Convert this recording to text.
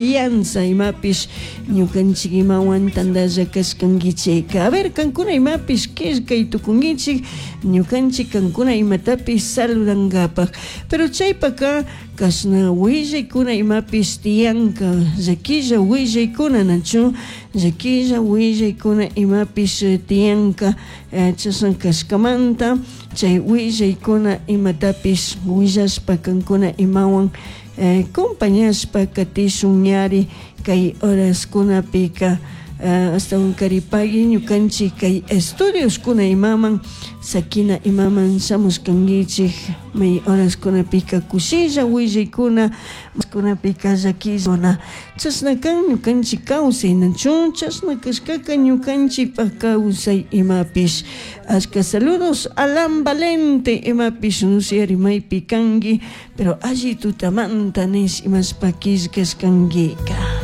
Confianza imapish ñukanchik imawan tantalla kashkankichik. A ver, kankuna imapish killkay tukunkichik ñukanchik kankuna imatapish saludankapak. Pero chaypaka kashna willaykuna imapish tiyanka llakilla willaykuna nachu llakilla willaykuna imapish tiyanka chashna kashkamanta chay willaykuna imatapish willashpa kankuna imawan compañashpa katishun ñari kay horaskunapika ashtawan karipagui ñukanchik kay estudioskuna imaman sakina imaman shamushkankichik may horaskunapika kushilla willaykuna kunapika llakillakuna chashna kan ñukanchik kawsay nachu chashna kashkaka ñukanchikpak kawsay imapish. Ashka saludos Alan Valente imapish nusyari maypi kanki pero alli tutamanta nish imashpa killkashkankika.